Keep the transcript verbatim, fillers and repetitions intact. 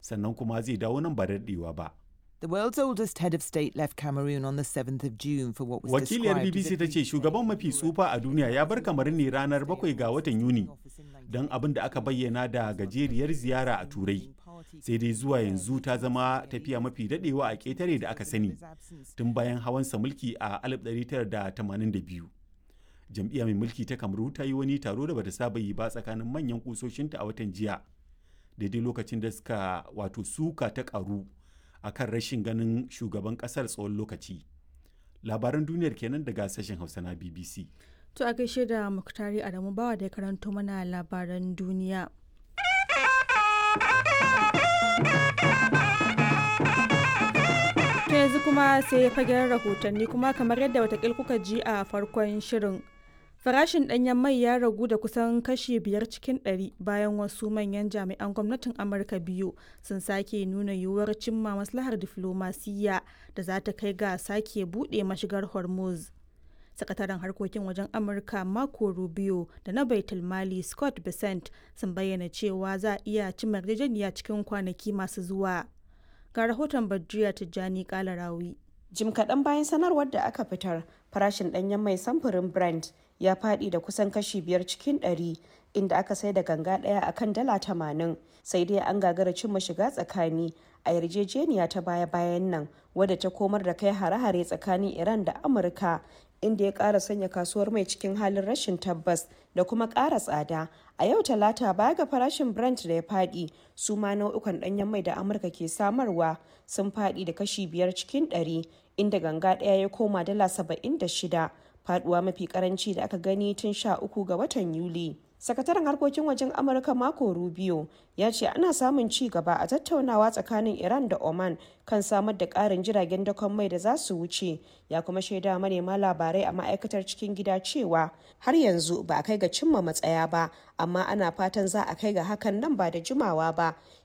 Sannan kuma zai dawo nan ba da daɗewa ba. The world's oldest head of state left Cameroon on the seventh of June for what was Wakiliyar described as B B C a ta ce shugaban mafi tsufa a duniya ya bar Kamaru ne ranar bakwai ga watan Yuni don abin da aka bayyana da gajeriyar ziyara a Turai. Sai dai zuwa yanzu ta zama tafiya mafi daɗewa a ƙetare da aka sani tun bayan hawansa mulki a alif ɗari tara da tamanin da biyu. Jam'iyya mai mulki ta Kamaru ta yi wani taro da bata saba yi ba tsakanin manyan kusoshinta a watan jiya, daidai lokacin da suka wato suka ta karu a kan rashin ganin shugaban kasar tsawon lokaci. Labaran duniyar kenan daga sashen Hausa na B B C. To, a gaishe da Muktari Adamu Bawa da ya karanto mana labaran duniya. To, yanzu kuma sai fagen rahotanni, kuma kamar yadda watakil kuka ji a farkon shirin. Farashin ɗanyen mai ya ragu da kusan kashi biyar cikin ɗari bayan wasu manyan jami'an gwamnatin Amurka biyu sun sake nuna yiwuwar cimma maslahar diflomasiyya da za ta kai ga sake buɗe mashigar Hormuz. Sakataren harkokin wajen Amurka Marco Rubio da na Baitul Mali Scott Bessent sun bayyana cewa za a iya cimma yarjejeniya cikin kwanaki masu zuwa. Ga rahoton Badriya Tijjani Kalarawi. Jim kaɗan bayan sanarwar da aka fitar, farashin ɗanyen mai samfurin Brent ya faɗi da kusan kashi biyar cikin ɗari, inda aka sai da ganga ɗaya a kan dala tamanin. Sai dai an gagara cimma shiga tsakani a yarjejeniya ta baya-bayan nan, wadda ta komar da kai hare-hare tsakanin Iran da Amurka, inda ya ƙara sanya kasuwar mai cikin halin rashin tabbas da kuma ƙara tsada. A yau Talata, baya ga farashin Brent da ya faɗi, su ma nau'ukan ɗanyen mai da Amurka ke samarwa sun faɗi da kashi biyar cikin ɗari, inda ganga ɗaya ya koma dala saba'in da shida, faduwa mafi karanci da aka gani tun sha uku ga watan Yuli. Sakataren harkokin wajen Amurka Marco Rubio ya ce ana samun ci gaba a tattaunawa tsakanin Iran da Oman kan samar da ƙarin jiragen dakon mai da za su wuce. Ya kuma shaida manema labarai a ma'aikatar cikin gida cewa har yanzu ba a kai ga cimma matsaya ba, amma ana fatan za a kai ga hakan nan ba da jimawa ba.